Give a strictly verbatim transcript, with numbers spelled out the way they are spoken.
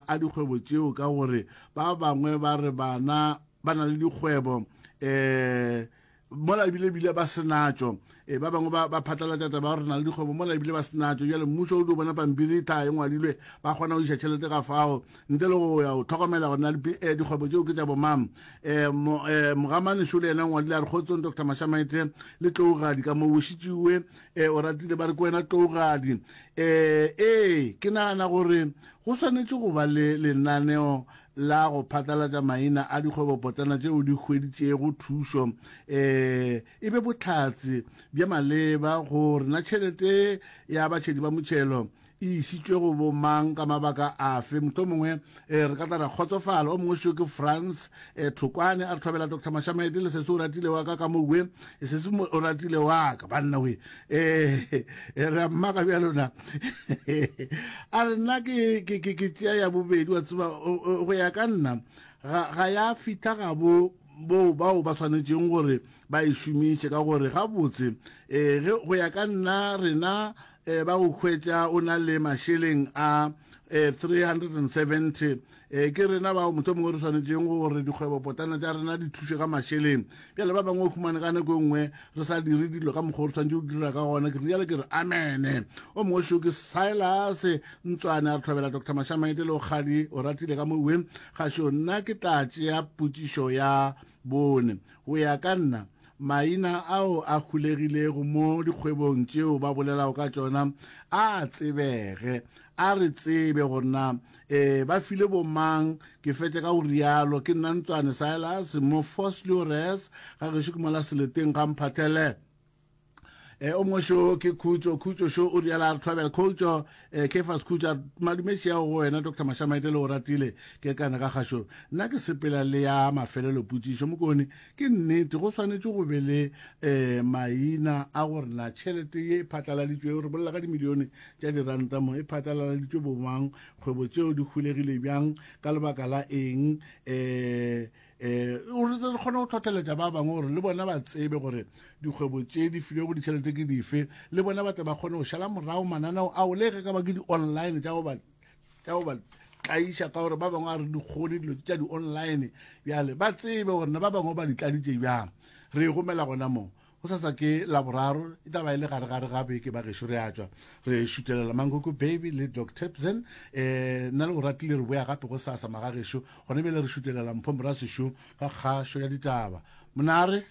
a dikgwebo tšeo ka gore ba bangwe ba re bana ba na le dikgwebo um mola ebile bile ba senatšo. E ba bangwe ba ba phatlalatša taba gore na le dikgwebo mola ebile ba senatšo. Jale mmušo o dio bona pampiri tla e ngwadilwe, ba kgona go iša tšhelete ga fao ntle le go ya go tlhokomela gore na dikgwebo tšeo ke tša bomang. Um mogamane šo le yena ngwadile a re kgotsong Doctor Mashamaite le Tlougadi ka mo bošitšiwe um o ratile ba re ke wena Tlougadi. Um ee ke nagana gore go swanetše go ba le lenaneo la go phatlalatša maina a dikgwebopotlana tšeo di hweditšego thušo um e be bohlatse bja maleba gore na tšhelete ya batšhedi ba motšhelo e išitšwe go bomang ka mabaka afe. Mohlomongwe um re ka tla ra kgotsofala. O mongwe šo ke France um Thokwane a re thobela Doctor Mashamaite le sese o ratile wa ka ka mowe sese o ratile wa ka banna we um re a mmaka bjalona. A re nna ke ke ke ke tšea ya bobedi wa tseba go ya ka nna ga ga ya fihla gabo bo bao ba swanetšeng gore ba e šomiše ka gore gabotse um ge go ya ka nna rena um ba go hwetša o na le mašeleng a um three hundred and seventy um ke rena bao mohlomongwe re swanetšeng gore dikgwebopotlana tša rena di thuše ka mašeleng. Bjale ba bangwe o humane ka nako e nngwe re sa dire dilo ka mokgwa o re swanetše go dira ka gona. Ke rialo ke re amene. O mongwe šo ke Silas Ntswane a re thobela Doctor Mashamaite le Okgadi o ratile ka mowe gašo. Nna ke tla tšea potšišo ya bone. Go ya ka nna maina ao a hulegilego mo dikgwebong tšeo ba bolelago ka tšona a tsebege, a re tsebe gore na um ba file bomang. Ke fetše ka go rialo. Ke nna Ntswane Silas mo Vosloorus ga gešo ke mola Seleteng ga Mphathele. Um o mongwe šo ke Khutšo. Khutšo šo o riala a re thobela Khutšo um Kefas Khutšo a re madumetši ao go wena Doctor Mashamaite le o ratile ke kana ka kgašo. Nna ke sepela le ya mafelelo potšišo Mokone. Ke nnete go swanetše go be le um maina a gore na tšhelete ye e phatlaladitšwego, re bolela ka dimilione tša diranta mo, e phatlaladitšwe bomang, kgwebo tšeo di hulegile bjang, ka lebaka la eng, um um re re kgone go tlhotlheletša ba bangwe gore le bona ba tsebe gore dikgwebo tše di filwego ditšhelete ke dife, le bona ba tle ba kgone go šala morago mananeo ao le ge ka ba ke di-online tša go ba tša go ba tlaiša ka gore ba bangwe a re di kgone dilo tša di-online. Bjale ba tsebe gore na ba bangwe ba di tladitše bjang. Re e gomela gona moo. Go sasa ke Laboraro e tla ba e le gare-gare ga beke ba gešo re a tšwa re šutelela Mankoko Baby le Doc Tapson. Um nna le go ratile re boya gape go sasa magagešo gona bjale re šutelela Mpho Morasešo ka kgašo ya ditaba. Monare.